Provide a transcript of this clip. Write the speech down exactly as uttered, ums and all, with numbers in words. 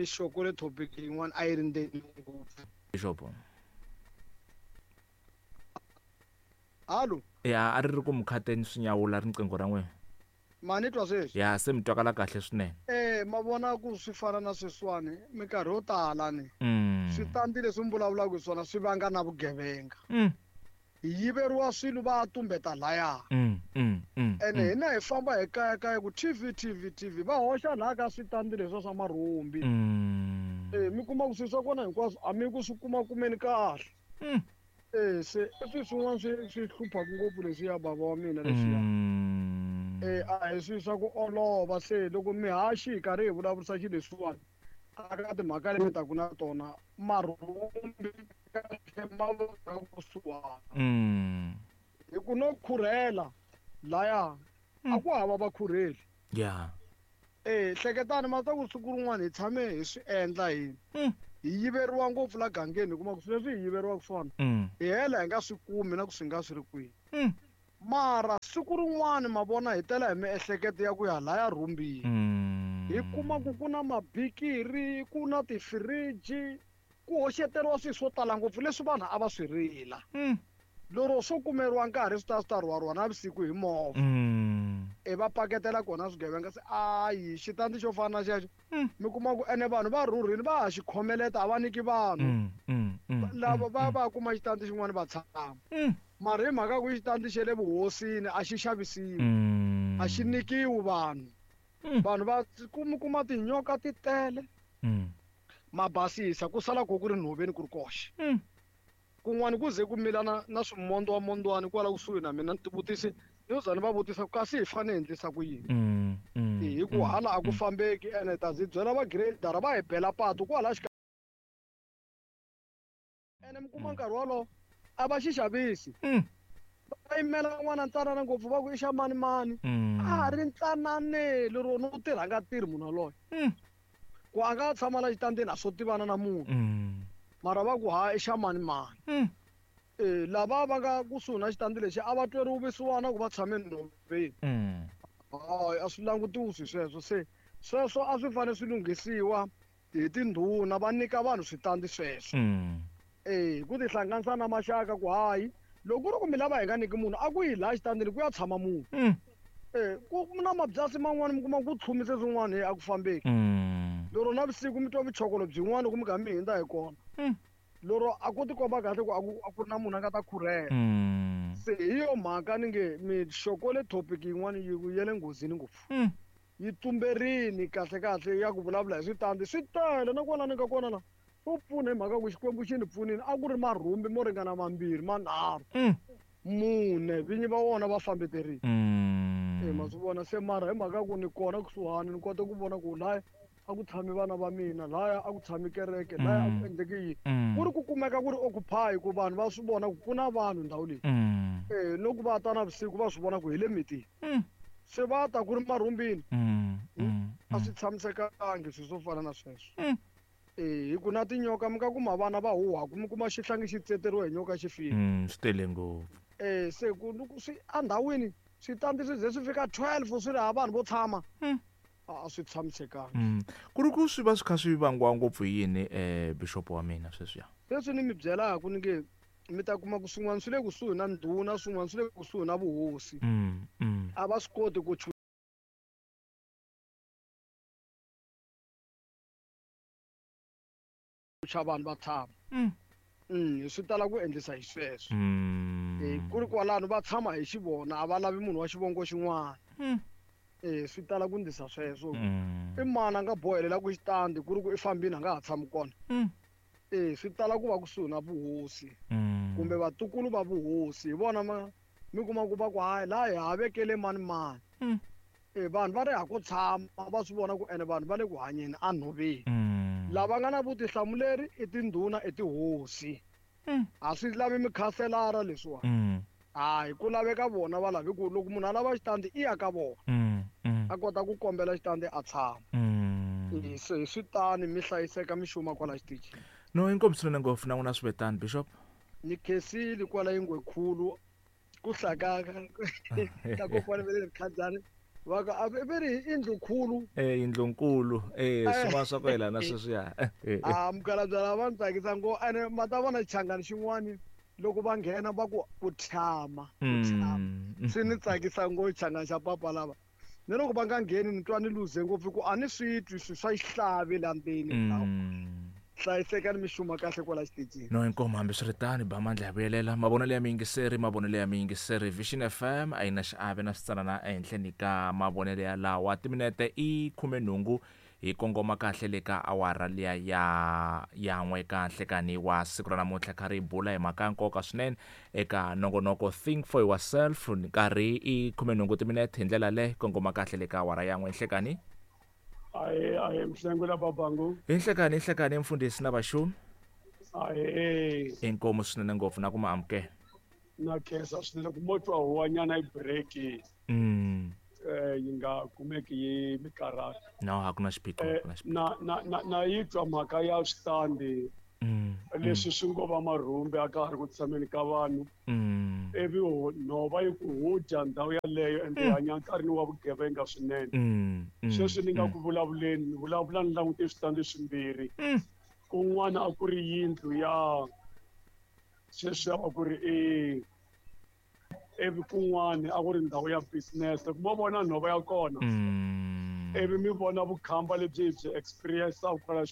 mi xokole topic yin'wana a yi ri ndzeni ngopfu. Bishop. Hallo. Ya a ri ri ku mukhateni swinyawula riqingho ra n'wina. Ma ni twa sweswi? Ya se mi twakala kahle swinene. Eh ma vona ku swi fana na sweswiwani minkarhi yo tala ni. Mm. Switandi leswi mi vulavulaka hi swona swi vanga na vugevenga. Mm. Hi yiveriwa swilo va tumbeta laya. Mm, mm, mm. Ene hina hi famba hi kaya kaya ku T V T V T V va hoxa laha ka switandi leswi swa marhumbi. Mm. Eh mi kuma ku swilo swa kona hinkwaswo a mi ku swi kuma kumeni kahle. Mm. Eh se i swilo swin'wana swi swi hluphaka ngopfu leswiya bava wa mina leswiya. Mm. Eh a hi swilo swa ku olova se loko mihaxi hi karhi hi vulavurisa xilo leswiwani a ka timhaka leti mi taku na tona marhumbi kahle ma va kusuhana. Mm. Hi ku no khurhela laya a ku hava vakhurheli. Yeah. Eh hleketani ma ta ku siku rin'wana hi tshame hi swi endla hi. Mm. Hi yiveriwa ngopfu la gangeni hi kuma ku swilo leswi hi yiveriwaka swona. Mm. Hi hela hi nga swi kumi na ku swi nga swi ri kwihi. Mm. Mara siku rin'wana ma vona hi tela hi miehleketo ya ku ya laya rhumbini. Mm. Hi kuma ku ku na mabikiri, ku na tifiriji, ku hoxeteriwa swilo swo tala ngopfu leswi vanhu a va swi rila. Mm. Lero swo kumeriwa nkarhi swi ta swi ta rhwariwa navusiku hi movha. Mm. E va paketela kona swigevenga se ayi xitandi xo fana na xexo. Mm. Mi kuma ku ene vanhu va rhurhile va ha xi khomeleta a va nyiki vanhu. Mm, mm, mm, Lava mm, va mm. va kuma xitandi xin'wana va tshama. Mm. Mara hi mhaka ku xitandi xa le vuhosini a xi xavisiwi. Mm. A xi nyikiwi vanhu. Mm. Vanhu va kuma kuma tinyoka ti tele. Mm. Ma basisa ku sala ku ku ri nhoveni ku ri koxe. Mm. Kun'wana ku ze ku mila na, na swimondwamondwani kwala kusuhi na mina ni tivutisi ni za ni va vutisa ku kasi hi fanele hi endlisa ku yini. Mm, mm, Hi ku mm, hala a ku mm. fambeki ene ta ndzi byela va grader va hi bela patu kwala xikarhi. Ene mi kuma nkarhi wolowo a va xi xavisi. Mm. Va yimela n'wana ntsanana ngopfu va ku i xa mani mani. Mm. A ha ri ntsanane lero no tirha nga tirhi munhu yaloye. Mm. Ku a nga tshama la xitandini a swo tivana na munhu. Mm. Mara va ku ha i xa mani mani. Mm. Eh lava va nga kusuhi na xitandi lexi a va tweriwi vusiwana ku va tshame nhoveni. Mm. Hayi a swi langutiwi swilo sweswo se sweswo a swi fanele swi lunghisiwa hi tindhuna va nyika vanhu switandi sweswo. Mm. Eh ku tihlanganisa na maxaka ku hayi loko ku ri ku mi lava hi nga nyiki munhu a ku yi laha xitandini ku ya tshama munhu. Mm. Eh ku na mabyasi man'wani mi kuma ku tlhumise swin'wana hi a ku fambeki. Mm. Lero navusiku mi twa vuchokolo byin'wana loko mi kha mi hundza hi kona. Mm. Lero a ku tikomba kahle ku a ku a ku ri na munhu a nga ta khurhela. Mm. Se hi yo mhaka ni nge mi xokole topic yin'wana yi ya le nghozini ngopfu. Mm. Yi tumberini kahle kahle ya ku vulavula hi switandi swi tele na kwala ni nga kona la. Swo pfuna hi mhaka ku Xikwembu xi ni pfunile a ku ri marhumbi mo ringana mambirhi manharhu. Mm. Mune vinyi va wona va fambeterile. Mm. Eh ma swi vona se mara hi mhaka ku ni kona kusuhani ni kota ku vona ku laya a ku tshami vana va mina laya a ku tshami kereke laya a ku Mm. endleki yini. Mm. Ku ri ku kumeka ku ri occupy ku vanhu va swi vona ku ku na vanhu ndhawu leyi. Mm. Eh loko va ta navusiku va swi vona ku hi le mitini. Mm. Se va ta ku ri marhumbini. Mm. Mm. A swi tshamisekangi swilo swo fana na sweswo. Mm. Eh hi ku na tinyoka mi nga kuma vana va huhwaku mi kuma xihlangi xi tseteriwa hi nyoka xi file. Mm, swi tele ngopfu. Eh se ku loko swi endhawini switandi swi ze swi fika twelve swi ri hava vanhu vo tshama. Mm. A swi tshamisekanga. Mm. Ku ri ku swi va swi kha swi vangiwa ngopfu hi yini eh bishop wa mina sweswiya? Leswi ni mi byelaka ni nge mi ta kuma ku swin'wana swi le kusuhi na ndhuna swin'wana swi le kusuhi na vuhosi. Mm, mm. A va swi koti ku chucha vanhu va tshama. Mm. Mm, swi tala ku endlisa hi sweswo. Mm. Eh ku ri kwalano va tshama hi xivona a va lavi munhu wa xivongo xin'wana. Mm. Eh swi tala ku endlisa sweswo. Mm. I mani a nga bohelela ku xitandi ku ri ku i fambile a nga ha tshami kona. Mm. Eh swi tala ku va kusuhi na vuhosi. Mm. Kumbe vatukulu va vuhosi hi vona ma mi kuma ku va ku hayi laha hi ha vekele mani mani. Mm. Eh vanhu va ri ha ku tshama va swi vona ku ene vanhu va le ku hanyeni enhoveni. Mm. Lava nga na vutihlamuleri i tindhuna i tihosi. Mm. A swi lavi mikhanselara leswiwani. Mm. Hayi ku laveka vona va lavi ku loko munhu a lava xitandi i ya ka vona. Mm. Mm. A kota ku kombela xitandi a tshama. Mm. Se hi swi tani mi hlayiseka mi xuma kwala xitichini. No inkomu swinene ngopfu na n'wina swi vetani bishop. Ni khensile kwala Yingwekhulu ku hlaya ka ka kokwana va le Rikhadzani Va ka a ve ri i yindlunkulu. Eh yindlunkulu eh swin'wana swa ku yelana sweswiya. A mukhalabye lava va ni tsakisa ngo ene ma ta vona xichangani xin'wani loko va nghena va ku ku tshama ku tshama Mm. swi ni tsakisa ngo xichangani xa papa lava ni loko va nga ngheni ni twa ni luze ngopfu ku a ni swi twi swi swa xihlavi la ndzeni Mm. hlayisekani mi xuma kahle kwala xitichini. No, inkomu. Hambiswiritano, ba mandla ya vuyelela mavonelo ya miyingiseri, mavonelo ya miyingiseri. Vision F M a yi na xiave na switsanana ehenhleni ka mavonelo ya lawa. Timinete i khumenhungu hi kongoma kahle le ka awara liya ya yan'we ka nhlekani wa siku ra namuntlha, kha ri bula hi mhaka ya nkoka swinene eka nongonoko Think for Yourself. Nkarhi i khumenhungu timinete, hi ndlela le kongoma kahle le ka awara yan'we nhlekani. Ahe, ahe, Mhlengula babangu. Hi nhlekani, hi nhlekani, mfundhisi na vaxumi. Ahe. Inkomu swinene ngopfu na ku ma amukela. Na khensa swinene ku mo twa huwanyana yi break mm. eh yi nga kumeki yi mi karhata. No, a ku na xiphiqo. Eh, ku na xiphiqo. na na na na yi twa mhaka ya switandi Mm, leswi swi ngo va marhumbi a ka ha ri ku tshameni ka vanhu mm, ivi ho- nhova yi ku hu dya ndhawu yaleyo ende hi hanya nkarhini wa vugevenga swinene. mm, mm, Sweswi ni nga mm. ku vulavuleni, ni vulavula ni langute switandi swimbirhi. Mm. Kun'wana a ku ri yindlu ya sweswi a ku ri i ivi kun'wana a ku ri ndhawu ya business. Loko mo vona nhova ya kona Mm. ivi mi vona vukhamba lebyi hi byi experience kwala.